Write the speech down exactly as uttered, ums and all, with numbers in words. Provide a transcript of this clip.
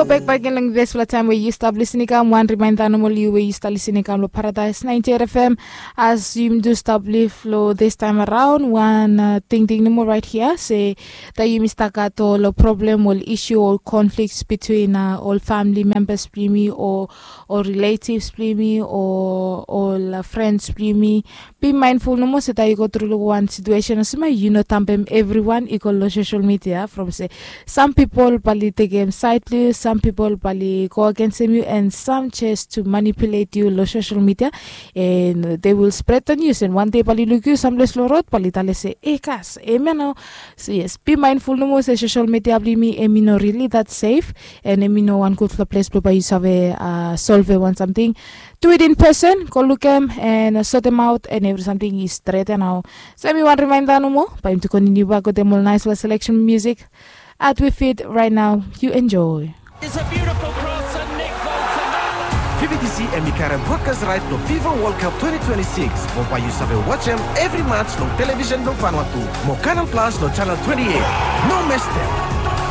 Bek bek gen long dispela taim we yu stap lisin i kam, wan rimainda nomo long yu we yu stap lisin i kam long Paradise ninety eight F M. As yumi do stap liv long this time around, wan uh, tingting nomo right here se that yumi stap gat ol problem, ol issue, ol conflicts between uh, ol family members blong yumi, or or relatives blong yumi, or ol uh, friends blong yumi. Be mindful nomo se that yu go through long wan situation olsem, yu no tampem everyone i go long social media from se some people bali tekem side blong yu, some people bali go against you, and some just to manipulate you long social media, and they will spread the news, and one day bali look you someplace long road, bali tale se, e kas, e mia nao. So yes, be mindful nomo se social media blong yumi em i no really that safe, and em i no wan gudfala place blong bai yu save uh, solve wan something. Do it in person, go look em and uh, sort them out, and every something is straight and now. So mi wan reminder nomo, bai yumi to continue back with them all nice selection music at we feet right now. You enjoy. It's a beautiful cross and Nick Bolton. Fi B T C em i karem broadcast right long FIFA World Cup twenty twenty-six. Mo bai yu save watch em every match long television blong Vanuatu. Mo Canal Plus long channel twenty-eight. No miss them.